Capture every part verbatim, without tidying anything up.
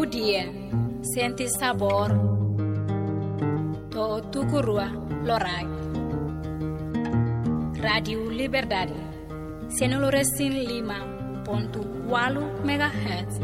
Dia, sente sabór, to'o tuku rua loraik. Rádiu Liberdade, sianulu resin lima pontu ualu megahertz.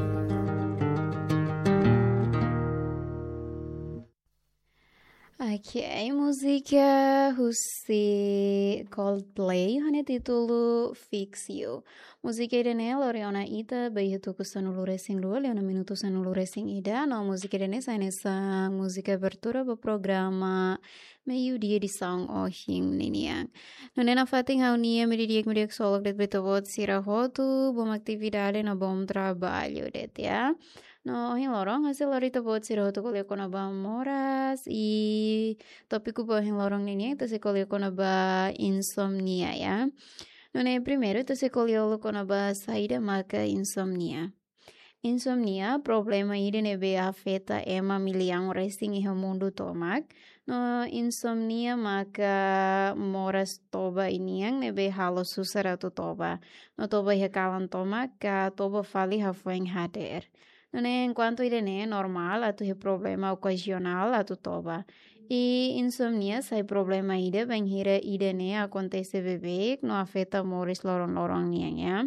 Ok, múzika husi Coldplay, ho nia títulu Fix You. Múzika ida-ne'e lori ona ita ba iha tuku sanulu resin rua, liu ona minutu sanulu resin ida, no múzika ida-ne'e sai hanesan múzika abertura ba programa Meiudia edisaun ohin ninian. Nune'e nafatin ha'u-nia media di'ak, media di'ak solok de'it ba ita-boot sira hotu, bom atividade no bom trabalho de'it, ya. No ohin loron, hanesan lori ita-boot sira hotu ko'alia kona-ba moras, i tópiku ba ohin loron ninian, ita sei ko'alia kona-ba insomnia, ya. Nune'e primeiru, ita sei ko'alia uluk kona-ba saida maka insomnia. Insomnia, problema ida ne'ebé afeta ema millaun resin iha mundu tomak. No insomnia maka moras toba ninian ne'ebé halo susar atu toba. No toba iha kalan tomak, ka toba fali hafoin hadeer. Nune'e enkuantu ida-ne'e normál atu iha problema okazionál atu toba. I insomnia sai problema ida bainhira ida-ne'e akontese beibeik no afeta moris loron-loron nian, ya.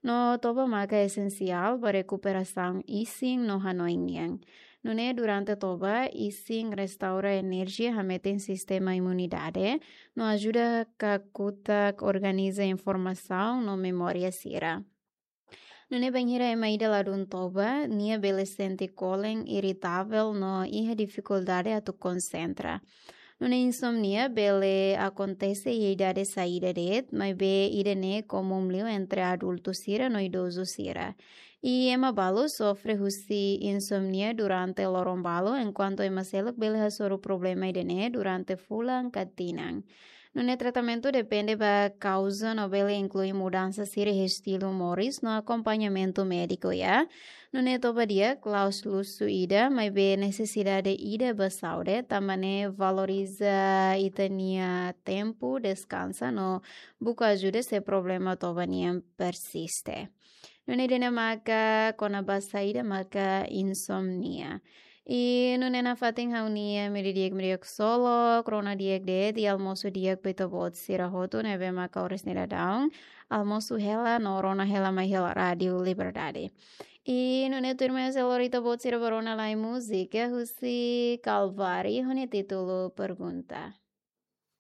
No toba maka esensiál ba rekuperasaun isin no hanoin nian. Nune'e durante toba, isin restaura enerjia, hametin sistema imunidade, no ajuda kakutak organiza informasaun no memória sira. Nune'e bainhira ema ida ladún toba, nia bele sente kolen, iritavel no iha difikuldade atu konsentra. Nune'e insomnia bele akontese iha idade saida de'it, maibé ida-ne'e komún liu entre adultu sira no idozu sira. I ema balu sofre husi insomnia durante loron balu, enkuantu ema seluk bele hasoru problema ida-ne'e durante fulan ka tinan. Nune'e tratamentu depende ba kauza no bele inklui mudansa sira iha estilu moris no akompañamentu médiku, ya. Nune'e toba di'ak la'ós luxu ida, maibé nesesidade ida ba saúde, tanba ne'e valoriza ita-nia tempu deskansa no buka ajuda se problema toba nian persiste. Nune'e ida-ne'e maka kona-ba saida maka insomnia. I nune'e nafatin ha'u-nia media di'ak, media di'ak solok, rona di'ak de'it, i almosu di'ak ba ita-boot sira hotu ne'ebé maka oras ne'e daudaun almosu hela no rona hela mai hela Rádiu Liberdade. I nune'e tuirmai sei lori ita-boot sira ba rona lai múzika husi Calvary, ho nia títulu Pergunta.